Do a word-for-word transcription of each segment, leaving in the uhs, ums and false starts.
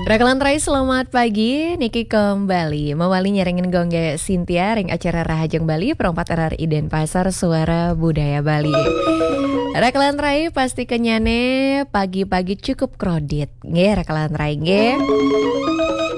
Raka lan rai, selamat pagi. Niki kembali mawali nyarengin gongge Sintia ring acara Rahajeng Bali, perempat R R I Denpasar, Suara Budaya Bali. Raka lan rai, pasti kenyane pagi-pagi cukup krodit. Nggih, raka lan rai, nggih.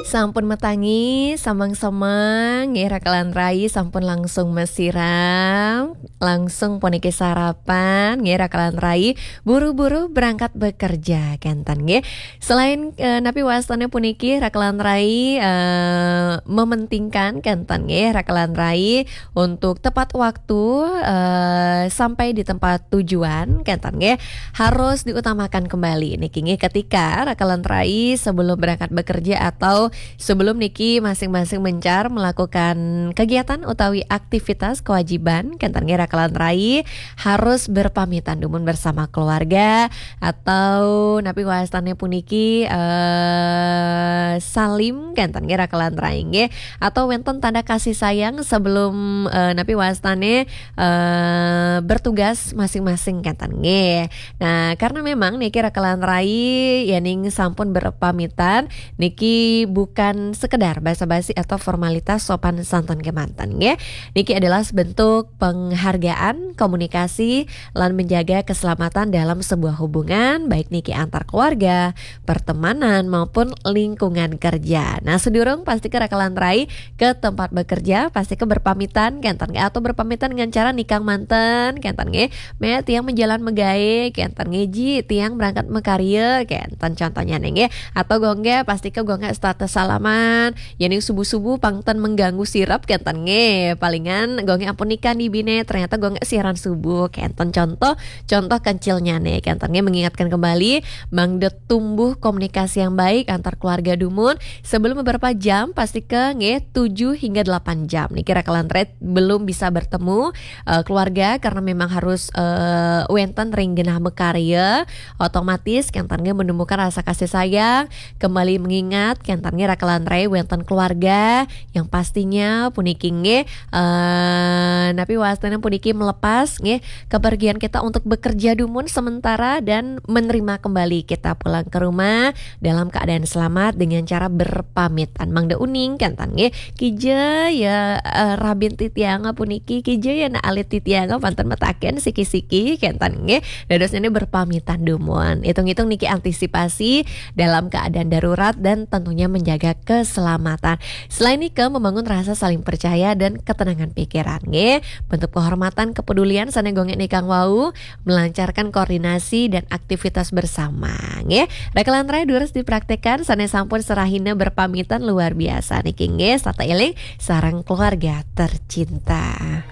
Sampun matangi, samang-samang, nggih, raka lan rai, sampun langsung masiram, langsung puniki sarapan, nggih, raka lan rai, buru-buru berangkat bekerja, kenten, nggih. Selain, eh, napi wastane puniki, raka lan rai, eh, mementingkan, kenten, nggih, raka lan rai, untuk tepat waktu, eh, sampai di tempat tujuan, kenten, nggih, harus diutamakan kembali niki, nggih, ketika raka lan rai sebelum berangkat bekerja atau sebelum niki masing-masing mencar melakukan kegiatan utawi aktivitas kewajiban, kenten, nggih, raka lan rai harus berpamitan dumun bersama keluarga atau napi wastane puniki, eh, salim, kenten, nggih, raka lan rai, nggih, atau wenten tanda kasih sayang sebelum, eh, napi wastane, eh, bertugas masing-masing, kenten, nggih. Nah, karena memang niki raka lan rai, yening sampun berpamitan, niki bukan sekedar basa-basi atau formalitas sopan santun kemanten, nggih. Niki adalah sebentuk penghargaan, komunikasi, lan menjaga keselamatan dalam sebuah hubungan, baik niki antar keluarga, pertemanan, maupun lingkungan kerja. Nah, sedurung pasti ke raka lan rai ke tempat bekerja, pasti ke berpamitan, kenten, nggih, atau berpamitan dengan cara nikang manten, kenten, nggih. "Mé, tiang menjalan megae," kenten, nggih, "Ji, tiang berangkat mekarya," kenten, contohnya, nggih. Atau gongge, pasti ke gongge status salaman, yening subuh-subuh pang ten mengganggu sirep, kenten, nggih. Palingan gongge ampun nika nibine, ternyata gongge siaran subuh, kenten, contoh, contoh kencilnya, nggih, kenten, nggih, mengingatkan kembali, mangda tumbuh komunikasi yang baik antar keluarga dumun sebelum beberapa jam, pasti ke, nggih, tujuh hingga delapan jam. Niki raka lan rai belum bisa bertemu, eh, keluarga karena memang harus, eh, wenten ring genah makarya, otomatis kenten, nggih, menumbuhkan rasa kasih sayang, kembali mengingat kenten, nggih, raka lan rai wenten keluarga yang pastinya puniki, nggih, eh, napi wastane puniki melepas, nggih, kepergian kita untuk bekerja dumun sementara dan menerima kembali kita pulang ke rumah dalam keadaan selamat dengan cara berpamitan. Mangda uning, kenten, nggih. "Kija ya, eh, rabin titiang puniki, kija ya nak alit titiang, panten mataken siki-siki," kenten, nggih. Dadosnya ini berpamitan dumun. Hitung-hitung niki antisipasi dalam keadaan darurat dan tentunya menjaga keselamatan. Selain nika, membangun rasa saling percaya dan ketenangan pikiran, nggih. Bentuk penghormatan, kepedulian sane gongge nikang wau, melancarkan koordinasi dan aktivitas bersama, nggih. Raka lan rai durus dipraktekkan sane sampun serahina berpamitan luar biasa niki, nggih. Sata eling sareng keluarga tercinta.